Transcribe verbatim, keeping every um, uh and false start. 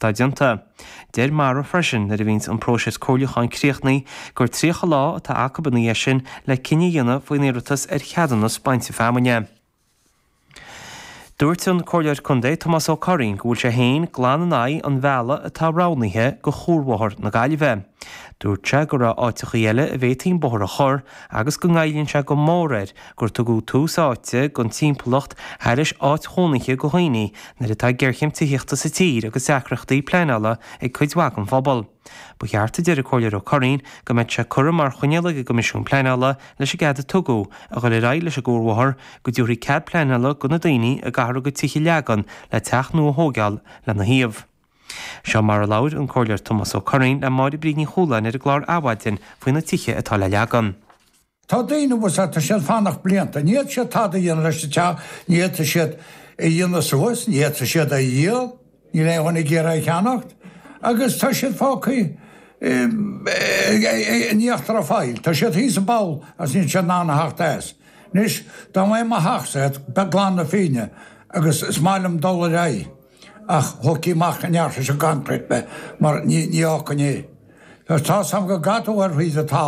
atá déanta. Deir Mara freisin nuair a bhíonns an próiseas comhairliúcháin críochnaithe gur tríocha lá atá acu ina dhiaidh sin le cinneadh a dhéanamh faoin iarratas ar cheadúnas bainte feamainne. Dúirt an Comhairleoir Contae Tomás Ó Curraoin go bhfuil sé féin glan in aghaidh an bhealaigh atá roghnaithe do chuarbhóthar na Gaillimhe. Dúirt sé go raibh áiteachaí eile a bhféadfaí an bóthar a chur agus go ngoilleann sé go mór air gur tugadh tús áite don timpeallacht thairis áit chónaithe do dhaoine nuair atá géarchéim tithíochta sa tír agus deacrachtaí pleanála ag cuid mhaith den phobal. Ba cheart a deir an Comhairleoir Ó Curraoin go mbeadh sé curtha mar choinníoll ag an gCoimisiún Pleanála leis an gcead a tugadh a dhul ar aghaidh leis an gcuarbhóthar go dtabharfaí cead pleanála do na daoine a gcaithfear a gcuid tithe a leagan le teach nua a thógáil lena thaobh. Seo mar a labhair an Comhairleoir Tomás Ó Curraoin le Máire Bríd Ní Chualáin ar an gclár Adhmhaidin faoi na tithe atá le leagan. Tá daoine bhus tá siad fanacht blianta, ní fhéadfaidh siad tada a dhéanamh leis an teach, ní fhéadfaidh siad a dhéanamh suas, ní fhéadfaidh siad a dhíol, níl aon dhuine ag iarraidh a cheannacht, agus tá siad fágtha in íochtar an phoill, tá siad thíos i bpoll agus níl siad in ann a theacht as. Anois, dá mbeadh mo theachsa glan na Féinne agus is maith liom dul ar aghaidh ach thógfaí amach an fhearthair seo concrete mé mar ní ní fhágfainn é. Tá sam go gcatú ar thríd an talamh.